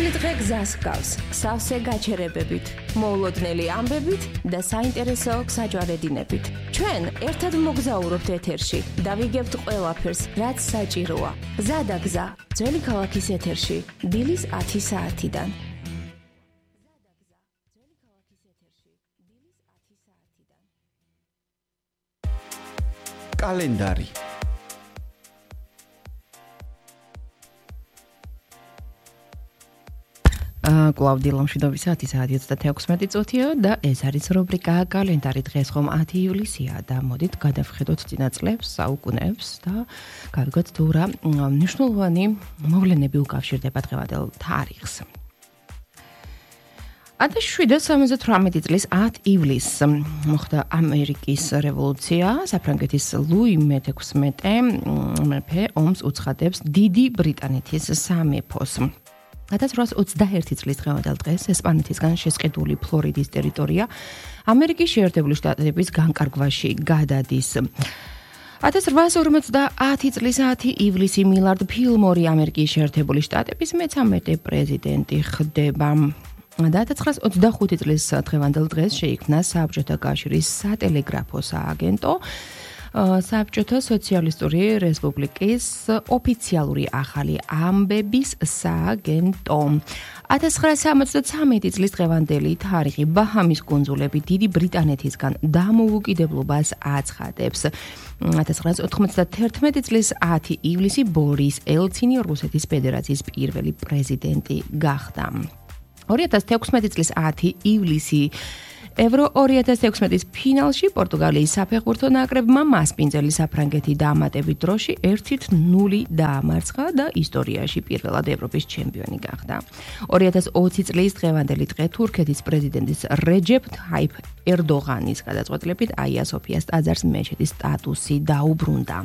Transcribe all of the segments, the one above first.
დღევანდელი დღე გზას ჰგავს, სავსე გაჩერებებით, მოულოდნელი ამბებით და საინტერესო საჯვარედინებით. ჩვენ ერთად მოგზაურობთ ეთერში და ვიგებთ ყველაფერს, რაც საჭიროა. გზა და გზა, ძველი ქალაქის ეთერში, დილის 10 საათიდან. კალენდარი კლავდია ლამშვიდობის საათი 36 წუთია და ეს არის რუბრიკა კალენდარი. დღეს ხომ 10 ივლისია და მოდით გადავხედოთ წინა წლებს, საუკუნეებს და გავიგოთ თუ რა მნიშვნელოვანი მოვლენები უკავშირდება დღევანდელ თარიღს. 1778 წლის 10 ივლისს მოხდა ამერიკის რევოლუცია. საფრანგეთის ლუი მე-16 მეფე ომს უცხადებს დიდი ბრიტანეთის სამეფოს. 1821 წლის დღევანდელ დღეს ესპანეთისგან შესყიდული ფლორიდის ტერიტორია ამერიკის შეერთებული შტატების განკარგვაში გადადის. 1850 წლის 10 ივლისი მილარდ ფილმორი ამერიკის შეერთებული შტატების მე-13 პრეზიდენტი ხდება. 1925 წლის დღევანდელ დღეს შეიქმნა საბჭოთა კავშირის სატელეგრაფო სააგენტო. საბჭოთა სოციალისტური რესპუბლიკის ოფიციალური ახალი ამბების სააგენტო. 1973 წლის დღევანდელი თარიღი ბაჰამის კუნძულები დიდი ბრიტანეთისგან დამოუკიდებლობას აცხადებს. 1991 წლის 10 ივლისი ბორის ელცინი რუსეთის ფედერაციის პირველი პრეზიდენტი გახდა. 2016 წლის 10 ივლისი ევრო 2016-ის ფინალში პორტუგალიის საფეხბურთო ნაკრებმა მასპინძელი საფრანგეთი დაამატებით დროში 1-0 დაამარცხა და ისტორიაში პირველად ევროპის ჩემპიონი გახდა. 2020 წლის დღევანდელი დღე თურქეთის პრეზიდენტის რეჯეფ თაიფ ერდოღანის გადაწყვეტილებით აია სოფიას ტაძარს მეჩეთის სტატუსი დაუბრუნდა.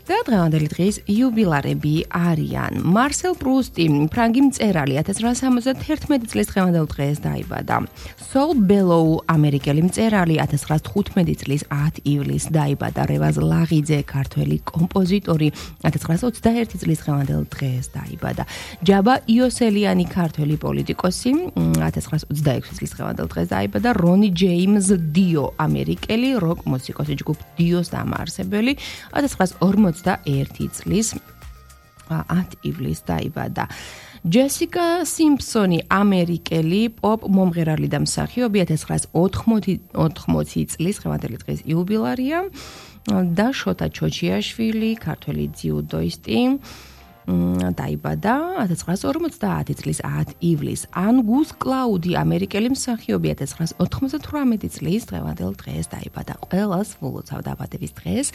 და დღევანდელი დღის იუბილარები არიან. მარსელ პრუსტი, ფრანგი მწერალი 1871 წლის დღევანდელ დღეს დაიბადა. სოლ ბელოუ, ამერიკელი მწერალი 1915 წლის 10 ივლისს დაიბადა. რევაზ ლაღიძე, ქართველი კომპოზიტორი 1921 წლის დღევანდელ დღეს დაიბადა. ჯაბა იოსელიანი, ქართველი პოლიტიკოსი 1926 წლის დღევანდელ დღეს დაიბადა. რონი ჯეიმზ დიო, ამერიკელი როკ მუსიკოსი, ჯგუფ დიოს დამაარსებელი 1941 წლის 10 ივლისს დაიბადა. ჯესიკა სიმფსონი, ამერიკელი პოპ მომღერალი და მსახიობი 1980 წლის დღევანდელი დღის იუბილარია და შოთა ჩოჩიაშვილი, ქართველი ძიუდოისტი დაიბადა 1950 წლის 10 ივლისს. ანგუს კლაუდი, ამერიკელი მსახიობი 1998 წლის დღევანდელ დღეს დაიბადა. ყველას ვლოცავ დაბადების დღეს.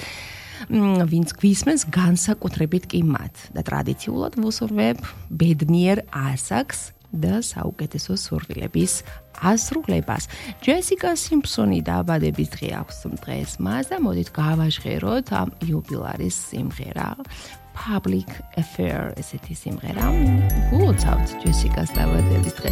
ვინც გვისმენს განსაკუთრებით კი მათ და ტრადიციულად ვუსურვებ ბედნიერ ასაკს და საუკეთესო სურვილების ასრულებას. ჯესიკა სიმფსონი დაბადების დღე აქვს დღეს მას და მოდით გავაჟღეროთ ამ იუბილარის სიმღერა. Public Affair ესეთი სიმღერა. ვულოცავთ ჯესიკას დაბადების დღეს.